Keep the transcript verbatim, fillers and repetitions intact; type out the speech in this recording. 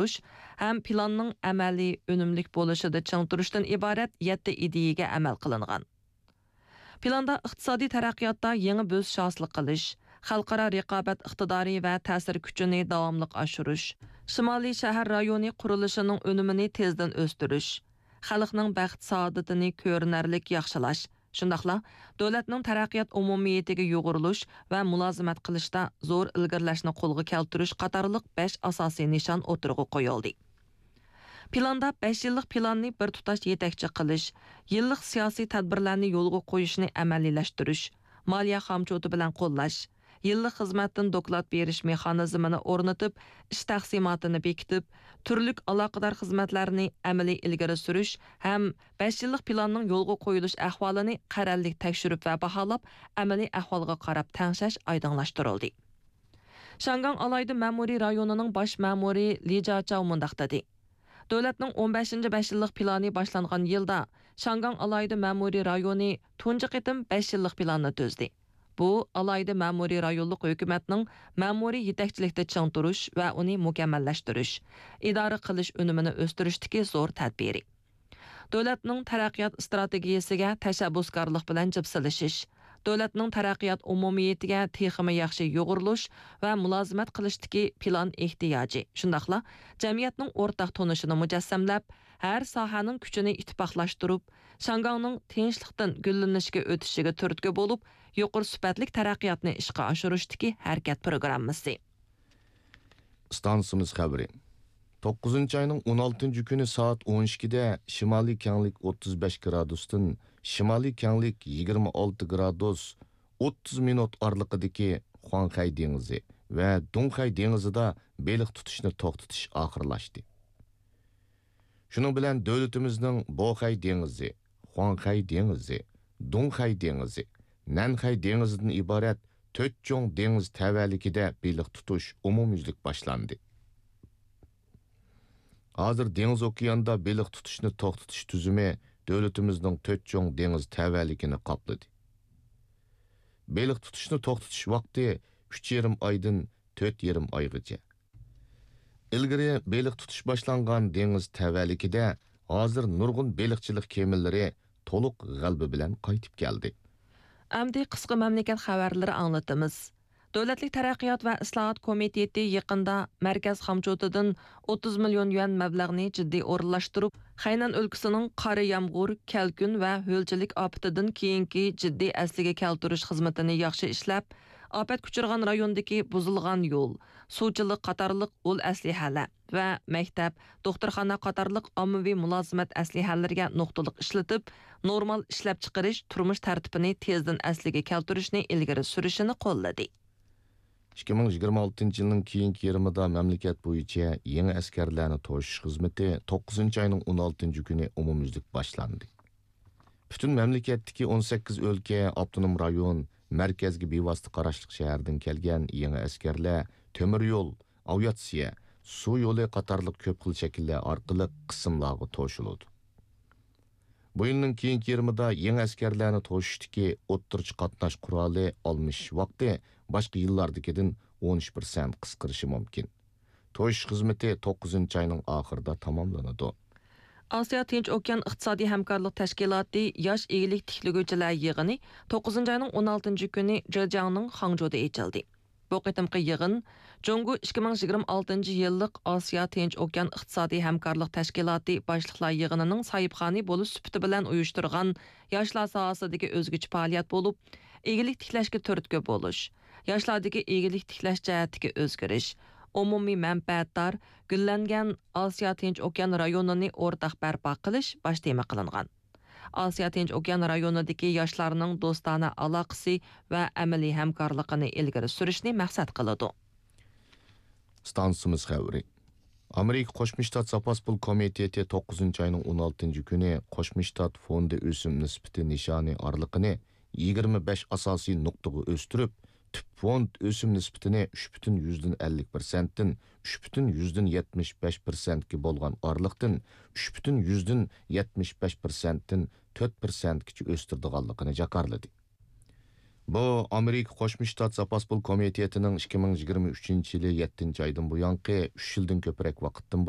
ئاشۇرۇش ھەم پىلاننىڭ ئەمەلىي ئۈنۈملۈك بولۇشىدا چىڭ تۇرۇشتىن ئىبارەت يەتتە ئىدىيەگە ئەمەل قىلىنغان. پىلاندا ئىقتىسادىي تەرەققىياتتا يېڭى بۆسۈش ھاسىل قىلىش، خەلقئارا رىقابەت ئىقتىدارى ۋە تەسىر كۈچىنى داۋاملىق ئاشۇرۇش، شىمالىي شەھەر رايونى قۇرۇلۇشىنىڭ ئۈنۈمىنى تېزدىن ئۆستۈرۈش، خەلقنىڭ بەخت-سائادىتىنى كۆرۈنەرلىك ياخشىلاش، شۇنداقلا دۆلەتنىڭ تەرەققىيات ئومۇمىيىتىگە يۇغۇرۇلۇش ۋە مۇلازىمەت قىلىشتا زور ئىلگىرىلەشنى قولغا كەلتۈرۈش قاتارلىق بەش ئاساسىي نىشان ئوتتۇرىغا قويۇلدى. پىلاندا بەش يىللىق پىلاننى بىر تۇتاش يېتەكچى قىلىش، يىللىق سىياسىي تەدبىرلەرنى يولغا قويۇشنى ئەمەلىيلەشتۈرۈش، مالىيە خامچوتى بىلەن قوللاش، يىللىق خىزمەتتىن دوكلات بېرىش مېخانىزمىنى ئورنىتىپ، ئىش تەقسىماتىنى بېكىتىپ، تۈرلۈك ئالاقىدار خىزمەتلەرنى ئەمەلىي ئىلگىرى سۈرۈش ھەم بەش يىللىق پىلاننىڭ يولغا قويۇلۇش ئەھۋالىنى قەرەللىك تەكشۈرۈپ ۋە باھالاپ، ئەمەلىي ئەھۋالغا قاراپ تەڭشەش ئايدىڭلاشتۇرۇلدى. شياڭگاڭ ئالاھىدە مەمۇرىي رايونىنىڭ باش مەمۇرى لى جياچاۋ مۇنداق دېدى: دۆلەتنىڭ ئون بەشىنچى بەش يىللىق پىلانى باشلانغان يىلدا، شياڭگاڭ ئالاھىدە مەمۇرىي رايونى تۇنجى قېتىم بەش يىللىق پىلاننى تۈزدى. بۇ، ئالاھىدە مەمۇرىي رايونلۇق ھۆكۈمەتنىڭ مەمۇرىي يېتەكچىلىكتە چىڭ تۇرۇش ۋە ئۇنى مۇكەممەللەشتۈرۈش، ئىدارە قىلىش ئۈنۈمىنى ئۆستۈرۈشتىكى زور تەدبىرى. دۆلەتنىڭ تەرەققىيات ئىستراتېگىيەسىگە تەشەببۇسكارلىق بىلەن جىپسىلىشىش، دۆلەتنىڭ تەرەققىيات ئومۇمىيىتىگە تېخىمۇ ياخشى يۇغۇرۇلۇش ۋە مۇلازىمەت قىلىشتىكى پىلان ئېھتىياجى، شۇنداقلا جەمئىيەتنىڭ ئورتاق تونۇشىنى مۇجەسسەملەپ، ھەر ساھەنىڭ كۈچىنى ئىتتىپاقلاشتۇرۇپ، شياڭگاڭنىڭ تىنچلىقتىن گۈللىنىشكە ئۆتۈشىگە تۈرتكە بولۇپ، يۇقىرى سۈپەتلىك تەرەققىياتنى ئىشقا ئاشۇرۇشتىكى ھەرىكەت پروگراممىسى. ئىستانسىمىز خەۋىرى. توققۇزىنچى ئاينىڭ ئون ئالتىنچى كۈنى سائەت ئون ئىككىدە شىمالىي كەڭلىك ئوتتۇز بەش گرادۇستىن شىمالىي كەڭلىك يىگىرمە ئالتە گرادۇس ئوتتۇز مىنۇت ئارىلىقىدىكى خۇاڭخەي دېڭىزى ۋە دۇڭخەي دېڭىزىدا بېلىق تۇتۇشنى توختىتىش ئاخىرلاشتى. شۇنىڭ بىلەن دۆلىتىمىزنىڭ بوخەي دېڭىزى، خۇاڭخەي دېڭىزى، دۇڭخەي دېڭىزى، نەنخەي دېڭىزىدىن ئىبارەت تۆت چوڭ دېڭىز تەۋەلىكىدە بېلىق تۇتۇش ئومۇميۈزلۈك باشلاندى. ھازىر دېڭىز ئوكياندا بېلىق تۇتۇشنى توختىتىش تۈزۈمى دۆلىتىمىزنىڭ تۆت چوڭ دېڭىز تەۋەلىكىنى قاپلىدى. بېلىق تۇتۇشنى توختىتىش ۋاقتى ئۈچ يېرىم ئايدىن تۆت يېرىم ئايغىچە. ئىلگىرى بېلىق تۇتۇش باشلانغان دېڭىز تەۋەلىكىدە ھازىر نۇرغۇن بېلىقچىلىق كېمىلىرى تولۇق غەلىبە بىلەن قايتىپ كەلدى. ئەمدى قىسقا مەملىكەت خەۋەرلىرى ئاڭلىتىمىز. دۆلەتلىك تەرەققىيات ۋە ئىسلاھات كومىتېتى يېقىندا مەركەز خامچوتىدىن ئوتتۇز مىليون يۈەن مەبلەغنى جىددىي ئورۇنلاشتۇرۇپ، خەينەن ئۆلكىسىنىڭ قارا يامغۇر، كەلكۈن ۋە ھۆلچىلىك ئاپىتىدىن كېيىنكى جىددىي ئەسلىگە كەلتۈرۈش خىزمىتىنى ياخشى ئىشلەپ، ئاپەتكە ئۇچرىغان رايوندىكى بۇزۇلغان يول، سۇچىلىق قاتارلىق ئۇل ئەسلىھەلەر ۋە مەكتەپ، دوختۇرخانا قاتارلىق ئاممىۋى مۇلازىمەت ئەسلىھەلىرىگە نۇقتىلىق ئىشلىتىپ، نورمال ئىشلەپچىقىرىش، تۇرمۇش تەرتىپىنى تېزدىن ئەسلىگە كەلتۈرۈشنى ئىلگىرى سۈرۈشىنى قوللىدى. ئىككى مىڭ يىگىرمە ئالتىنچى يىلنىڭ كېيىنكى يېرىمىدا مەملىكەت بويىچە يېڭى ئەسكەرلەرنى توشۇش خىزمىتى توققۇزىنچى ئاينىڭ ئون ئالتىنچى كۈنى ئومۇميۈزلۈك باشلاندى. پۈتۈن مەملىكەتتىكى ئون سەككىز ئۆلكە، ئاپتونوم رايون، مەركەزگە بىۋاسىتە قاراشلىق شەھەردىن كەلگەن يېڭى ئەسكەرلەر تۆمۈر يول، ئاۋىئاتسىيە، سۇ يولى قاتارلىق كۆپ خىل شەكىللەر ئارقىلىق قىسىملارغا توشۇلىدۇ. بۇ يىلنىڭ كېيىنكى يېرىمىدا يېڭى ئەسكەرلەرنى توشۇشتىكى ئوتتۇرىچە قاتناش قورالى ئالمىشىش ۋاقتى باشقا يىللاردىكىدىن ئون ئۈچ پىرسەنت قىسقىرىشى مۇمكىن. توشۇش خىزمىتى توققۇزىنچى ئاينىڭ ئاخىرىدا تاماملىنىدۇ. ئاسىيا تىنچ ئوكيان ئىقتىسادىي ھەمكارلىق تەشكىلاتى ياش ئىگىلىك تىكلىگۈچىلەر يىغىنى توققۇزىنچى ئاينىڭ ئون ئالتىنچى كۈنى جېجياڭنىڭ خاڭجۇدا ئېچىلدى. بۇ قېتىمقى يىغىن جۇڭگو ئىككى مىڭ يىگىرمە ئالتىنچى يىللىق ئاسىيا تىنچ ئوكيان ئىقتىسادىي ھەمكارلىق تەشكىلاتى باشلىقلار يىغىنىنىڭ ساھىبخانى بولۇش سۈپىتى بىلەن ئۇيۇشتۇرغان ياشلار ساھەسىدىكى ئۆزگىچە پائالىيەت بولۇپ، ئىگىلىك تىكلەشكە تۈرتكە بولۇش، ياشلاردىكى ئىگىلىك تىكلەش جەھەتتىكى ئۆزگىرىش، ئومۇمىي مەنپەئەتدار، گۈللەنگەن ئاسىيا تىنچ ئوكيان رايونىنى ئورتاق بەرپا قىلىش باش تېما قىلىنغان. ئاسىيا تىنچ ئوكيان رايونىدىكى ياشلارنىڭ دوستانە ئالاقىسى ۋە ئەمەلىي ھەمكارلىقىنى ئىلگىرى سۈرۈشنى مەقسەت قىلىدۇ. ئىستانسىمىز خەۋىرى. ئامېرىكا قوشما شتات زاپاس پۇل كومىتېتى توققۇزىنچى ئاينىڭ ئون ئالتىنچى كۈنى قوشما شتات فوندى ئۆسۈم نىسبىتى نىشانى ئارىلىقىنى يىگىرمە بەش ئاساسىي نۇقتىغا ئۆستۈرۈپ، تۈپ فوند ئۆسۈم نىسبىتىنى ئۈچ پۈتۈن يۈزدىن ئەللىك پىرسەنتتىن ئۈچ پۈتۈن يۈزدىن يەتمىش بەش پىرسەنتكە بولغان ئارىلىقتىن ئۈچ پۈتۈن يۈزدىن يەتمىش بەش پىرسەنتتىن تۆت پىرسەنتكىچە ئۆستۈرىدىغانلىقىنى جاكارلىدى. بۇ ئامېرىكا قوشما شتات زاپاس پۇل كومىتېتىنىڭ ئىككى مىڭ يىگىرمە ئۈچىنچى يىلى يەتتىنچى ئايدىن بۇيانقى ئۈچ يىلدىن كۆپرەك ۋاقىتتىن بۇيان